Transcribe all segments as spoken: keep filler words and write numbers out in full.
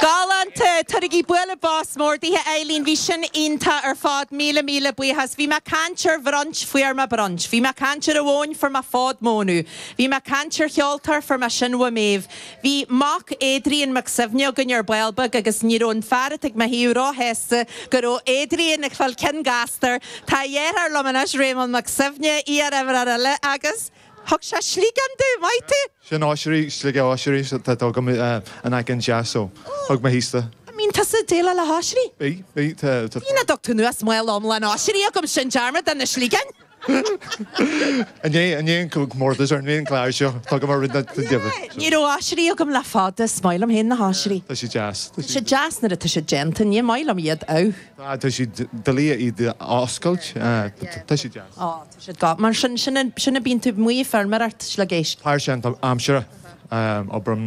Galánta Tabhraigí bualadh bos mór dithe Eileen bhí sin iontach ar fad míle míle buíochas, bhí mé caint ar bhrunch fuair mé brunch, Bhí mé caint ar amháin fuair mé fód mónadh, Bhí mé caint ar cheoltóir fuair mé sin méh. Bhí mac Adrian Mac Suibhne againn ar ball beag agus ní raibh an fear ag mo thaobh róshásta go raibh Adrian ag fáil cionn gastar Tá dheartháir liom anois Réamonn Mac Suibhne í ar eile agus thug sé sliogán domh maith tú? Sin oisrí slige oisrí tá go an an jazz so thug mé hísta. Mín tusa déile le hoisrí? Bí bí Ní dug tú nuas mail omlan oisrí agam sin dearmad an na sliogáin? An é an comórtas ar an chlár seo tá go mar Ní raibh oisrí agam le fada is maith liom féin na hoisrí. Tá sé deas. Tá sé deas nuair atá sé déanta ní maith liom iad á. Tá sé doiligh iad oscailt tá sé deas. Á tá sé go mar sin sin sin a bíonn tú muí feirmeoireacht sliogéisc. Par sin aimsire obair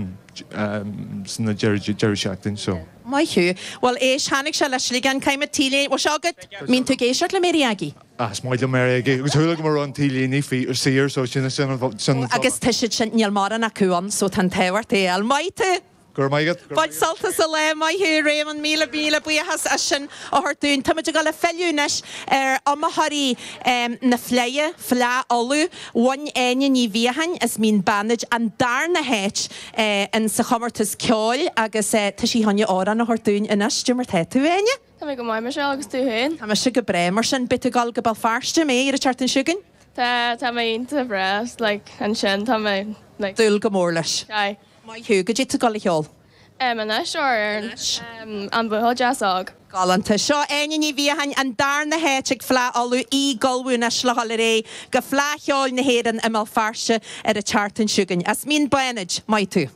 sna deireadh seachtain so. Maith thú. Well éis tháinig sé le sliogán caiime tílé bhfuil seo agat mbíonn tú ag éisteacht le Mary Aggie. Is maith liom Mary Aggie agus chuala go raibh an t-léine faoi saor so sin sin sin Agus tá siad sin níl mórán acu ann so tá an t-ádh ort é fháil. Maith tú! Gur maigad Bain sult as an lá maith thú Réamonn míle míle buíochas as sin a thabhairt dúinn. Táimid ag dul ag filleadh anois ar iomaitheoirí na Fleidhe, Fleadh Uladh, Bhain Áine Ní Bhiacháin as Mín Banaid an darna háit in sa chomórtas ceoil agus tá sí chun amhrán a thabhairt dúinn anois Cad é mar tá tú Áine? Tá mé go maith Michelle agus tú féin? Tá mise go breá mar sin beidh tú ag dul go Béal Feirste mé ar an tseachtain seo chugainn? Tá tá mé iontach breá like ansin tá mé like Dúil go mór leis. Aye. Maith thú, cad é tú ag dul a cheol. Um, anois ar um, an buachaill deas óg. Galánta seo Áine Ní Bhiacháin an darna háit ag Fleadh Uladh í ag ullmhú anois le dhul ar aghaidh go Fleadh Cheoil na hÉireann i mBéal Feirste ar an tseachtain seo chugainn. As Mín Bánaid, maith tú.